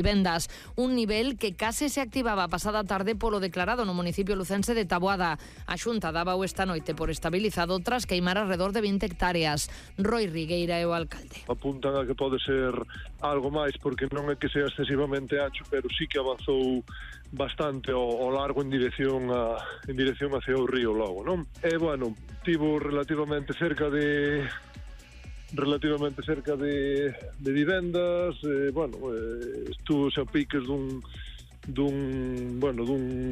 vivendas, un nivel que case se activaba a pasada tarde polo declarado no municipio lucense de Taboada. A Xunta daba esta noite por estabilizado tras queimar alrededor de 20 hectáreas. Roy Rigueira é o alcalde. Apuntan a que pode ser algo máis, porque non é que sea excesivamente ancho, pero sí que avanzou bastante ao largo en dirección hacia o río logo, non? E, bueno, tivo relativamente cerca de vivendas, estuvo a piques dun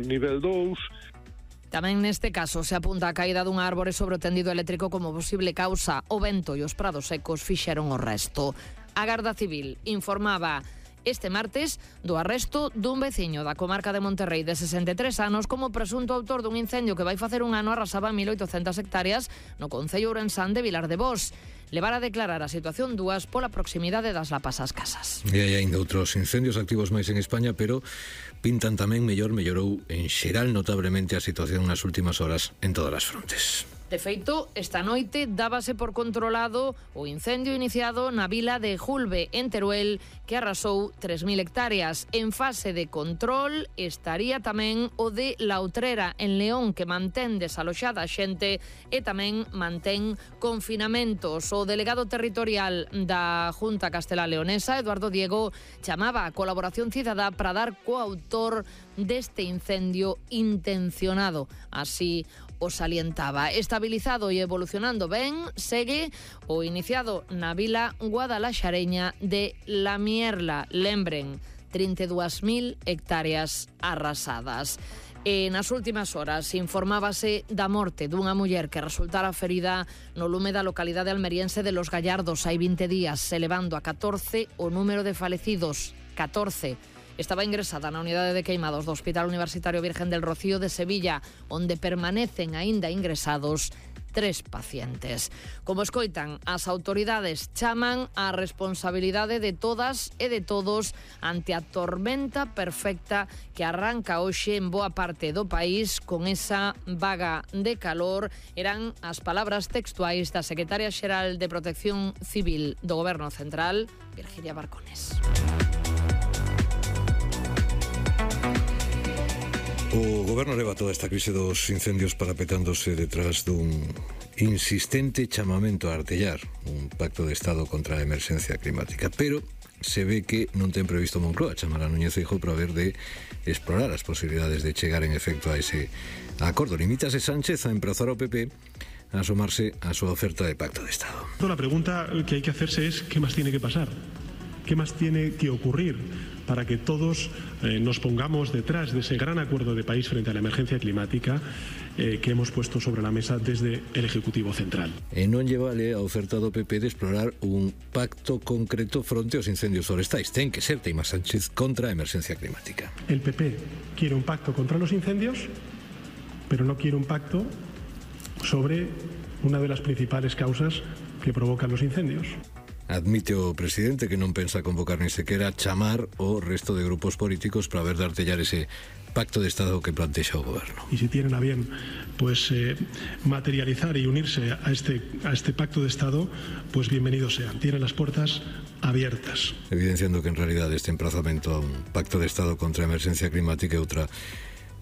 nivel 2. Tamén neste caso se apunta a caída dun árbore sobre o tendido eléctrico como posible causa. O vento e os prados secos fixeron o resto. A Garda Civil informaba este martes do arresto dun veciño da comarca de Monterrey de 63 anos como presunto autor dun incendio que vai facer un ano arrasaba 1.800 hectáreas no concello ourensán de Vilar de Bos. Levar a declarar a situación dúas pola proximidade das lapas ás casas. E hai ainda outros incendios activos máis en España, pero pintan tamén mellorou en xeral notablemente a situación nas últimas horas en todas as frontes. De feito, esta noite dábase por controlado o incendio iniciado na vila de Julbe, en Teruel, que arrasou 3.000 hectáreas. En fase de control estaría tamén o de La Utrera, en León, que mantén desaloxada a xente e tamén mantén confinamentos. O delegado territorial da Junta Castelá Leonesa, Eduardo Diego, chamaba a colaboración cidadá para dar coautor deste incendio intencionado. Así o salientaba. Estabilizado e evolucionando ben, segue o iniciado na vila guadalaxareña de La Mierla. Lembren, 32.000 hectáreas arrasadas. E nas últimas horas informábase da morte dunha muller que resultara ferida no lume da localidade almeriense de Los Gallardos hai 20 días, elevando a 14 o número de falecidos. 14. Estaba ingresada na unidade de queimados do Hospital Universitario Virgen del Rocío de Sevilla, onde permanecen aínda ingresados 3 pacientes. Como escoitan, as autoridades chaman á responsabilidade de todas e de todos ante a tormenta perfecta que arranca hoxe en boa parte do país con esa vaga de calor. Eran as palabras textuais da secretaria xeral de Protección Civil do Goberno Central, Virginia Barcones. O Goberno leva toda esta crise dos incendios parapetándose detrás dun insistente chamamento a artellar un pacto de Estado contra a emerxencia climática, pero se ve que non ten previsto Moncloa chamar a Núñez Feijóo para ver de explorar as posibilidades de chegar en efecto a ese acordo. Limítase Sánchez a emprazar ao PP a asomarse a súa oferta de pacto de Estado. La pregunta que hay que hacerse es ¿qué más tiene que pasar? ¿Qué más tiene que ocurrir para que todos nos pongamos detrás de ese gran acuerdo de país frente a la emergencia climática que hemos puesto sobre la mesa desde el Ejecutivo Central? E non lle vale a oferta do PP de explorar un pacto concreto fronte aos incendios forestais. Ten que ser Teima Sánchez contra a emerxencia climática. El PP quiere un pacto contra los incendios, pero no quiere un pacto sobre una de las principales causas que provocan los incendios. Admite o presidente que non pensa convocar ni sequera chamar o resto de grupos políticos para ver de artellar ese pacto de Estado que plantexa o goberno. Y si tienen a bien pues materializar y unirse a este pacto de Estado, pues bienvenidos sean. Tienen las puertas abiertas. Evidenciando que en realidad este emprazamento a un pacto de Estado contra a emerxencia climática é outra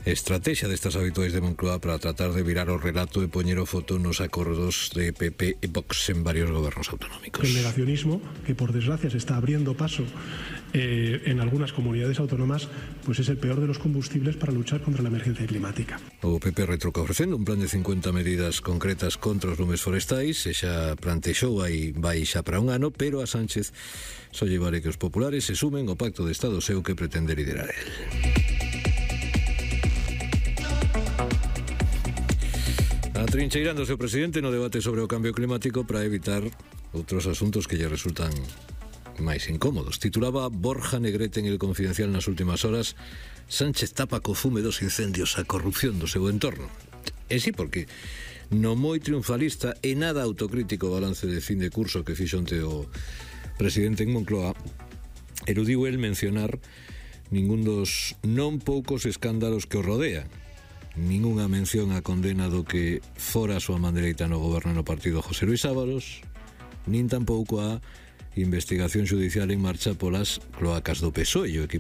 estrategia destas habituais de Moncloa para tratar de virar o relato e poñer o foto nos acordos de PP e Vox en varios gobernos autonómicos. El negacionismo, que por desgracia se está abriendo paso en algunas comunidades autónomas, pues es el peor de los combustibles para luchar contra la emergencia climática. O PP retruca ofrecendo un plan de 50 medidas concretas contra os lumes forestais, e xa plantexou vai xa para un ano, pero a Sánchez só lle vale que os populares se sumen ao pacto de Estado seu que pretende liderar el. Atrincheirándose o presidente no debate sobre o cambio climático para evitar outros asuntos que lle resultan máis incómodos. Titulaba Borja Negrete en El Confidencial nas últimas horas: Sánchez tapa co fume dos incendios a corrupción do seu entorno. E sí, porque no moi triunfalista e nada autocrítico balance de fin de curso que fixo onte o presidente en Moncloa, eludiu el mencionar ningún dos non poucos escándalos que o rodean. Ningunha mención a condena do que fora a súa man dereita no goberno no partido José Luis Ábalos, nin tampouco a investigación judicial en marcha polas cloacas do PSOE e o equipo